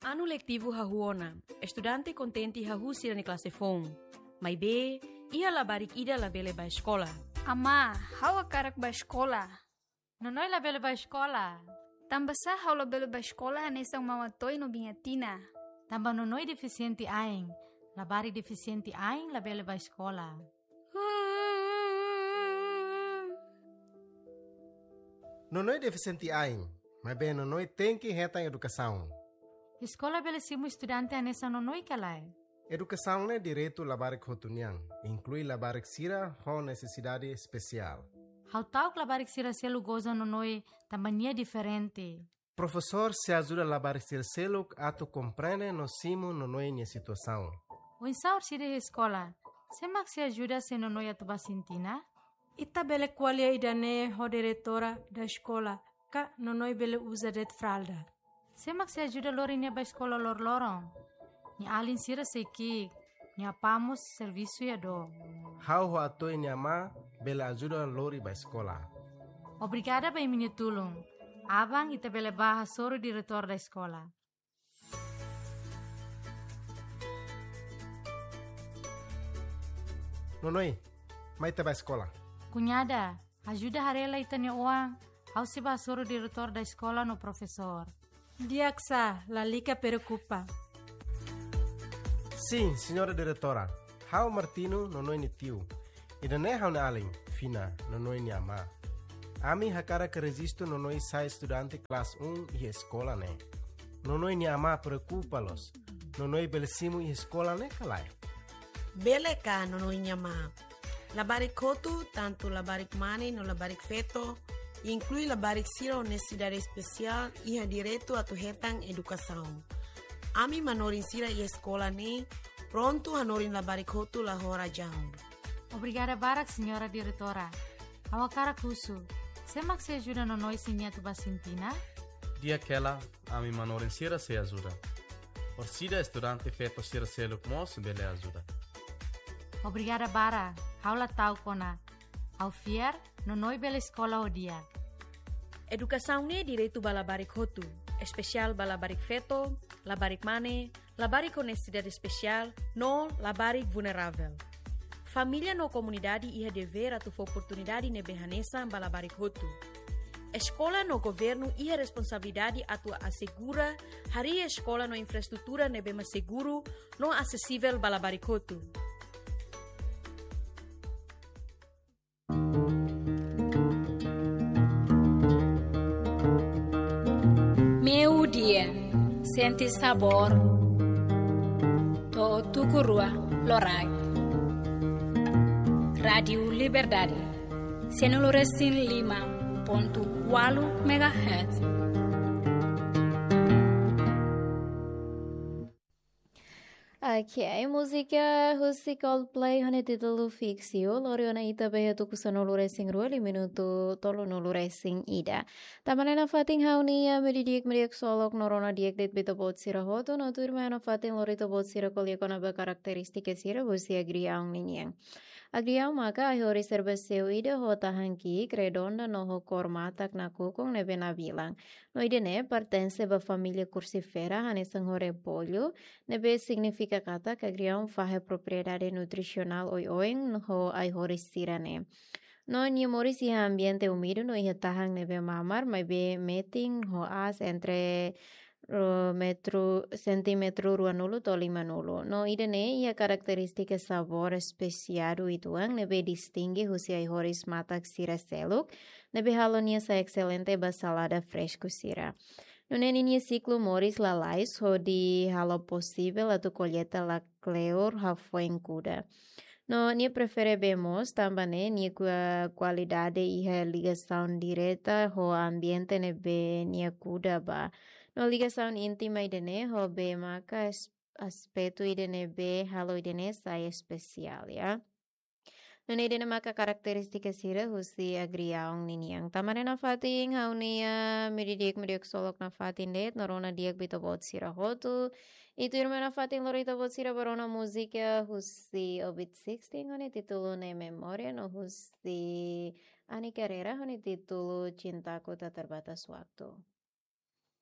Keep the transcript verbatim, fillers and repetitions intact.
Anu letivu hahú ona, estudante kontente hahú sira-nia klase foun. Maibé, iha labarik ida labele bá eskola. Amá, ha'u hakarak bá eskola. Nonoi labele bá eskola. Tanbasá ha'u labele bá eskola hanesan Mama Toy no Biña Tina? Tanba Nonoi defisiente ain. Labarik defisiente ain labele bá eskola. Nonoi defisiente ain, maibé Nonoi tenke hetan edukasaun. Eskola bele simu estudante hanesan Nonoi ka lae? Edukasaun ne'e direitu labarik hotu nian, inklui labarik sira ho nesesidade espesiál. Ha'u ta'uk labarik sira seluk goza Nonoi tanba nia diferente. Profesór sei ajuda labarik sira seluk atu komprende no simu Nonoi nia situasaun. Oinsá orsida iha eskola? Sé mak sei ajuda se Nonoi atu bá sintina? Ita bele ko'alia ida-ne'e ho diretora da eskola, ka Nonoi bele uza de'it fralda. Sé mak sei ajuda lori nia bá eskola loroloron? Nia alin sira sei ki'ik, nia apá mós servisu iha dook. Ha'u ho Atoy nia amá bele ajuda lori bá eskola. Obrigada ba imi-nia tulun. Aban ita bele bá hasoru diretór da eskola. Nonoi, mai ita bá eskola. Kuñada, ajuda haree lai ita-nia oan, ha'u sei bá hasoru diretór da eskola no profesór. Di'ak sá, lalika preokupa. Sin, señora diretora. Ha'u Martino, Nonoi nia tiu. Ida-ne'e ha'u-nia alin, Fina, Nonoi nia amá. Ami hakarak rejistu Nonoi sai estudante klase um iha eskola ne'e. Nonoi nia amá preokupa loos. Nonoi bele simu iha eskola ne'e ka lae? Bele ka, Nonoi nia amá. Labarik hotu, tantu labarik mane no labarik feto, inklui labarik sira ho nesesidade espesiál, iha direitu atu hetan edukasaun. Ami manorin sira iha eskola ne'e prontu hanorin labarik hotu la ho razaun. Obrigada barak, señora diretora. Ha'u hakarak husu, sé mak sei ajuda Nonoi se nia atu bá sintina? Di'ak hela, ami manorin sira sei ajuda. Orsida estudante feto sira seluk mós bele ajuda. Obrigada barak, ha'u la ta'uk ona. Ha'u fiar, Nonoi bele eskola ho di'ak. Edukasaun ne'e direitu ba labarik hotu, espesiál ba labarik feto, labarik mane, labarik ho nesesidade espesiál, no labarik vulneravel. Família no komunidade iha devér atu fó oportunidade ne'ebé hanesan ba labarik hotu. Eskola no governu iha responsabilidade atu asegura harii eskola no infraestrutura ne'ebé mak seguru no asesivel ba labarik hotu. Meiudia, sente sabór to'o tuku rua loraik. Rádiu Liberdade, sanulu resin lima pontu ualu megahertz. Ok, múzika husi Coldplay ho nia títulu Fix You, lori ona ita ba iha tuku sanulu resin rua, liu minutu tolunulu resin ida. Tanba ne'e nafatin ha'u-nia meiudia di'ak, meiudia ksolok no rona di'ak de'it ba ita-boot sira hotu, no tuirmai ha'u nafatin lori ita-boot sira ko'alia kona-ba karakterístika sira husi agriaun ninian. Agriaun maka ai-horis serba seu ida ho tahan ki'ik, redonda no ho kór matak nakukun ne'ebé nabilan. No ida-ne'e pertense ba família Crucifera, hanesan ho repollu, ne'ebé signifika katak agriaun fahe propriedade nutrisionál oioin ho ai-horis sira-ne'e. No nia moris iha ambiente úmidu no iha tahan ne'ebé mamar, maibé metin ho aas entre, eh, metru, sentímetru ruanulu to'o limanulu. No ida-ne'e iha karakterístika sabór espesiadu uitoan ne'ebé distinge husi ai-horis matak sira seluk, ne'ebé halo nia sai exelente ba salada fresku sira. Nune'e ninia siklu moris lalais hodi halo posivel atu kolleita la kleur hafoin kuda. No nia prefere bee moos tanba ne'e nia kua-, kualidade iha ligasaun direta ho ambiente ne'ebé nia kuda ba. No ligasaun íntima ida-ne'e ho bee maka es-, aspetu ida ne'ebé halo ida-ne'e sai espesiál, ya. Nune'e ida-ne'e maka karakterístika sira husi agriaun ninian. Tanba ne'e nafatin ha'u-nia meiudia di'ak, meiudia ksolok nafatin de'it, no rona di'ak ba ita-boot sira hotu. I tuirmai nafatin lori ita-boot sira ba rona múzika husi Orbit sixteen ho nia títulu Ne'e Memória, no husi Ani Carreira ho nia títulu Cintaku Tak Terbatas Waktu.